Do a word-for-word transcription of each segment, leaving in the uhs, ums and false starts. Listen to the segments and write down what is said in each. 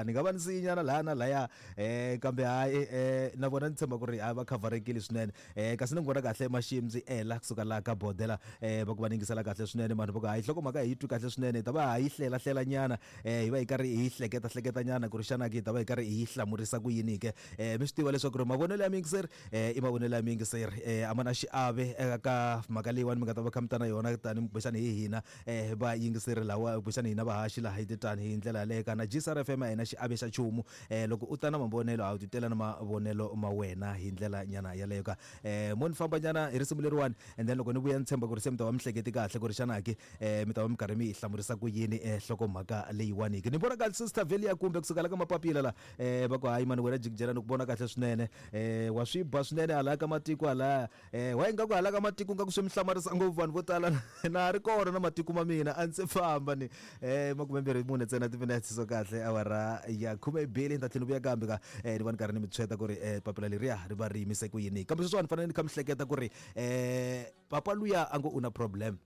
Ni nga va ni siyinyana laha na laya um kambe hayi um na vona ni tshemba ku ri a va khavharekile swinene um kasi ni n'wi vona kahle Maximzi ela kusuka laha ka bodela um va ku va ni yingisela kahle swinene vanhu va ku hayi nhlokomhaka hi yi twi kahle swinene hi ta va ha yi hlela hlela nyana um hi va hi karhi hi hleketa hleketa nyana ku ri xana ke hi ta va hi karhi hi yi hlamurisa ku yini ke um mi swi tiva leswaku ri mavonelo ya muyingiseri um i mavonelo ya muyingiseri um a ma na xiave eka mhaka leyiwani mi nga ta va kha mi ta na yona tani kumbexani hi hina um vayingiseri lawa kumbexani hina vahaxi laha hi titani hi ndlela yaleyo kana G S R F M a hi na xiave xa nchumu um loko u ta na mavonelo a wu titela na mavonelo ma wena hi ndlela nyana yaleyo ka um mo ni famba nyana hi risimu leriwani and then loko ni vuya ni tshemba ku ri se mi ta va mi hleketi kahle ku ri xana ke um mi ta va mi karhi mi yi hlamurisa ku yini um nhlokomhaka leyiwani ke ni vona kahle Sister Velia kumbe kusuka la ka mapapila la um va ku hayi mani wena jikijela ni ku vona kahle swinene um wa swi ba swinene hala ka matiko halaya um wa ingaku hala ka matiko nga ku swi mi hlamarisa ngopfu vanhu vo tala na ha ri kona na matiko ma mina a ndzi famba ni um makumembirhi mune ntsena timinetse so kahle awara ya khume mbirhi ni ta tlhela ni vuya kambe ka um ni va ni karhi ni mi tshweta ku ri um papila leriya ri va ri yimise ku yini kambe sweswiwani ni fanele ni kha mi hleketa ku ri um papa luya a ngo u na problem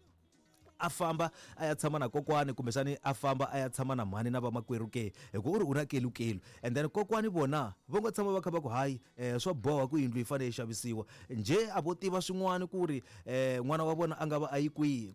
a famba a ya tshama na kokwani kumbexani a famba a ya tshama na mhani na vamakwerhu ke hi ku u ri u na kelukelu and then kokwani vona va ngo tshama va kha va ku hayi um swa boha ku yindlu yi fanele yi xavisiwa njhe a vo tiva swin'wana ku ri um n'wana wa vona a nga va a yi kwihi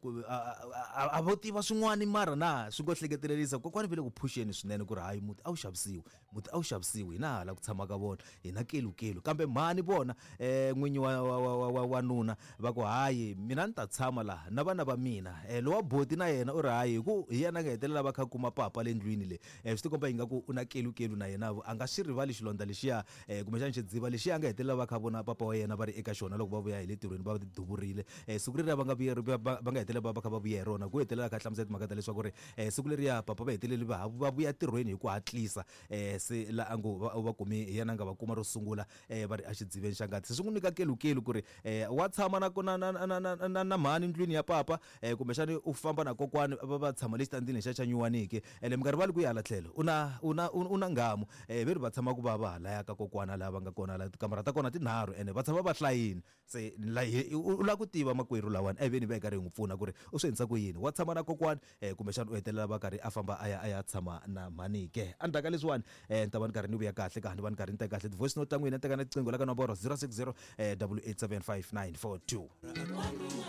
a vo tiva swin'wana mara na swi ngo hleketelerisa kokwani va le ku phuxeni swinene ku ri hayi muti a wu xavisiwi muti a wu xavisiwi hina hala ku tshama ka vona hina kelukelu kambe mhani vona um n'winyi wa wa wa wa wanuna va ku hayi mina ni ta tshama laha na vana va mina lowa boti na yena u ri hayi hi ku hi yena a nga hetelela va kha kuma papa le ndlwini le um swi tikomba ingaku u na kelukelu na yena a nga xi rivali xilondza lexiya um kumbexana xidziva lexiya a nga hetelela va kha vona papa wa yena va ri eka xona loko va vuya hi le tirhweni va ti duvurile um siku leriya va nga vuya va nga hetelela va va kha va vuya hi rona ku hetelela kha hlamusela timhaka ta leswaku ri um siku leriya papa va heteleli va va vuya tirhweni hi ku hatlisa um se la a ngo va kumi hi yena a nga va kuma ro sungula um va ri exidziveni xa ngati se swi n'wi nyika kelukelu ku ri um wa tshama na na na na na na mhani ndlwini ya papa um kumbexani u famba na kokwani va va tshama le xitandini lexiya xa nyuwaniki ene mi nga rivali ku ya hala tlhelo u na u na u na ngamu um ve ri va tshama ku va va halaya ka kokwana laha va nga kona la tikamara ta kona tinharhu ene va tshama va hlayini se u lava ku tiva makwerhu lawani a hi veni va hi karhi hi n'wi pfuna ku ri u swi endlisa ku yini wa tshama na kokwani um kumbexana u hetelela va karhi a famba a ya a ya tshama na mhani ke endzhaku ka leswiwani um ni ta va ni karhi ni vuya kahle ka ni va ni karhi ni teka kahle ti-voice note ta n'wina ni teka na tiqingho la ka nomboro zero six zero double eight seven five nine four two.